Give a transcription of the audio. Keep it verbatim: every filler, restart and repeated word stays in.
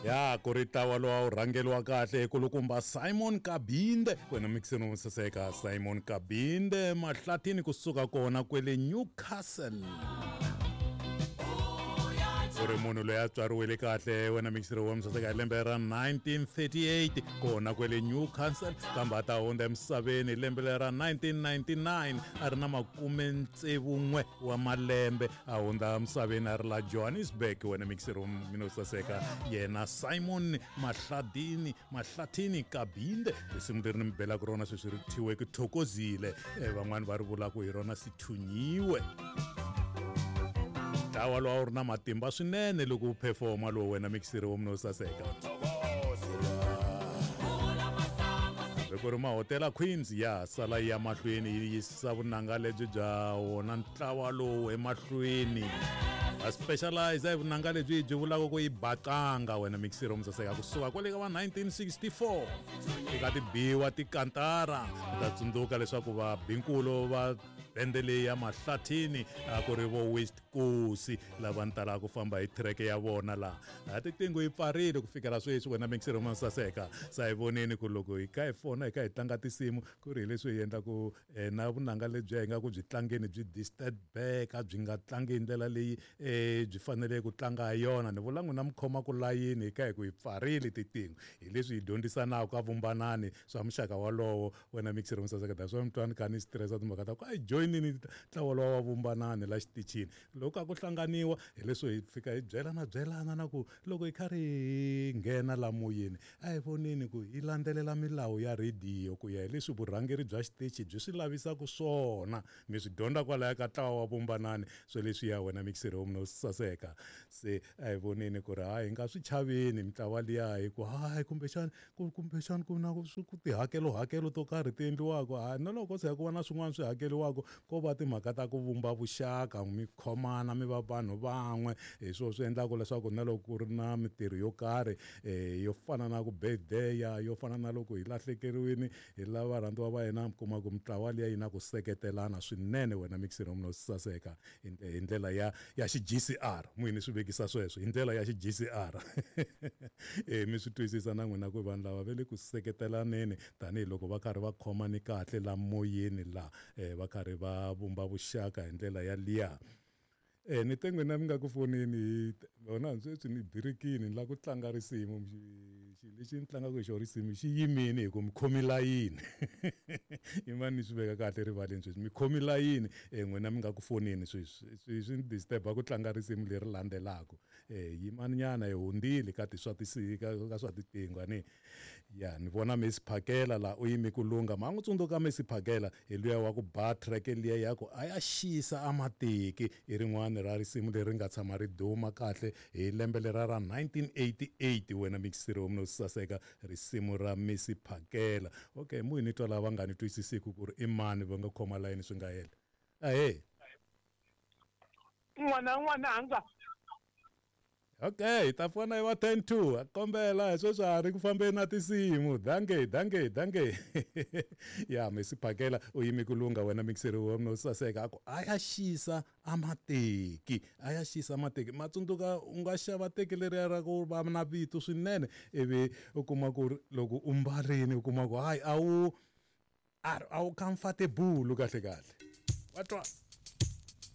Ya ku ri ntlawa lowu a wu rhangeriwa kahle hi kulukumba Simon Kabinde. Wena mixini wo saseka Simon Kabinde Mahlathini kusuka kona kwele Newcastle. Ku ri munhu loyi a tswariwile kahle wena mixiri wa misaseka hi lembe ra nineteen thirty-eight kona kwele Newcastle, kambe a ta hundza emisaveni hi lembe ra nineteen ninety-nine a ri na makume tsevu n'we wa malembe, a hundza emisaveni a ri la Johannesburg. Wena mixiri wa mina saseka yena Simon Mahladini Mahlathini Kabinde, risimu leri ni mi belaka rona sweswi ri thyiwe ku Thokozile, van'wani va ri vulaka hi rona Sithunyiwe. Ntlawa lowu a wu ri na matimba swinene loko wu performa lowu wena mixiri wa munhu wo saseka. Loko ri Mahotela Queens ya sala yi ya mahlweni yi yisa vunanga lebyi bya wona ntlawa lowu emahlweni. A specialize hi vunanga lebyi byi vulaka ku yi bakanga wena mixiri wa saseka kusuka kwale ka va nineteen sixty-four eka tibiwa tikantara. U ta tsundzuka leswaku va binkulo va bende leyi ya Mahlathini a ku ri vo West Coast lava ni talaka ku famba hi track ya vona laha. A tiqingho yi pfarile ku fikela sweswi wena mixiri wa saseka. Sa hi voneni ku loko hi kha hi fona hi kha hi tlanga tinsimu ku ri hi leswi hi endlaku na vunanga lebyi hi nga ku byi tlangeni byi disturb-eka, byi nga tlangi hi ndlela leyi byi faneleke ku tlanga ha yona. Ni vula n'wina mi khoma ku layini hi kha hi ku hi pfarile tiqingho, hi leswi hi dyondzisanaka ka vumbanani swa muxaka walowo wena mixiri wa saseka. That's why mi twa ni kha ni stress timhaka ta ku a hi joyinini ntlawa lowa wa vumbanani la xitichini. Loko a ku hlanganiwa hi leswi hi fika hi byelana byelana na ku loko hi karhi hi nghena la moyeni a hi voneni ku hi landzelela milawu ya rhediyo ku ya hi leswi vurhangeri bya xitichi byi swi lavisaka swona. Mi swi dyondza kwalaya ka ntlawa wa vumbanani swo leswi ya wena mixiri wa munhu saseka. Se a hi voneni ku ri hayi hi nga swi chaveni mitlawa liya hi ku hayi kumbexani kumbexani ku na ku tihakelo hakelo to karhi ti endliwaka, hayi na loko se ku va na swin'wana swi hakeriwaka ko va timhaka ta ku vumba vuxaka mi khomana mi va vanhu van'we. Hi swona swi endlaka leswaku na loko ku ri na mitirho yo karhi yo fana na ku birthday, yo fana na loko hi lahlekeriwile hi lava varhandziwa va hina, mi kuma ku mitlawa liya yi na ku seketelana swinene wena mixiri wa munhu saseka hi ndlela ya ya xi G C R. N'wini swi vekisa sweswo hi ndlela ya xi G C R. Eh mi swi twisisa na n'wina ku vanhu lava va le ku seketelaneni tanihiloko va karhi va khomani kahle la moyeni la va karhi va vumba vuxaka hi ndlela ya liya. Eh ni te n'wina mi nga ku fonini hi vona sweswi ni birikini ni lava ku tlanga risimu, xilo lexi ni tlangaka hi xona risimu xi yimile hi ku mi khomi layini. Yimani ni swi veka kahle rivaleni sweswi, mi khomi layini n'wina mi nga ku fonini sweswi swi swi ni disturb-a ku tlanga risimu leri landzelaka. Eh yimani nyana hi hundzile ka ti swa ka swa tiqingho ani. Ya ni vona Messi Phakela la u yime ku lungha, ma n'wi tsundzuka Messi Phakela hi luya wa ku ba track liya ya ku a ya xisa a mateki, i rin'wana ra risimu leri nga tshama ri duma kahle hi lembe lera ra nineteen eighty-eight wena mixiri wa munhu saseka, risimu ra Messi Phakela. Okay, mu hi ni twa lava nga ni twisisiku ku ri i mani va nga khoma layini swi nga hela. Ahee n'wana n'wananga. Okay, ta fona hi va ten two. Kombela hi sweswi a ri ku fambeni na tinsimu. Danke, danke, danke. Ya Messi Phakela u yime ku lungha wena mixiri wa munhu saseka a ku a ya xisa a mateki, a ya xisa mateki. Matsundzuka u nga xava teki leriya ra ku va na vito swinene ivi u kuma ku ri loko u mbarini u kuma ku hayi a wu a wu comfortable kahle kahle. Wa twa?